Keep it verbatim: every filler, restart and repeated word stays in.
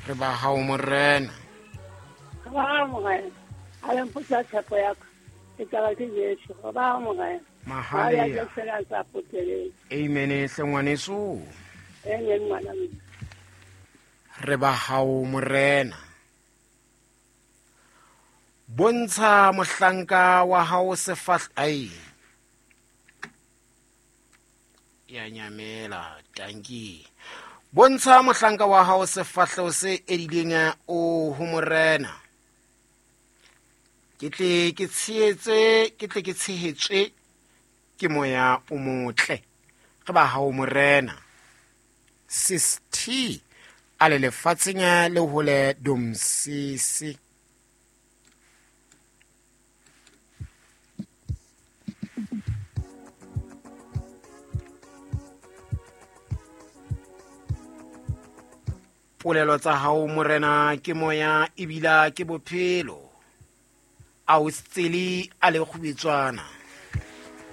Re ba hao morena. Re ba hao morena. A le mpotsa tshepo ya ka. Ke taba ke Jesu. Re ba hao morena. Mahalia. Amen hle ngwaneso. Amen ngwana. Re ba hao morena. Bontsha mohlanka wa hao sefahleho. Ai. Ya nyamela tanki. Bontsha mohlanka wa hao sefahleho se edileng o ho morena. Ke tle ke tshehetse, ke tle ke tshehetswe ke moya o motle. Re ba hao morena. Sis T a le lefatsheng le hole domsisi. Polelo tsa hao morena ke moya ebila ke bophelo. A o tsele a le kgubetswana.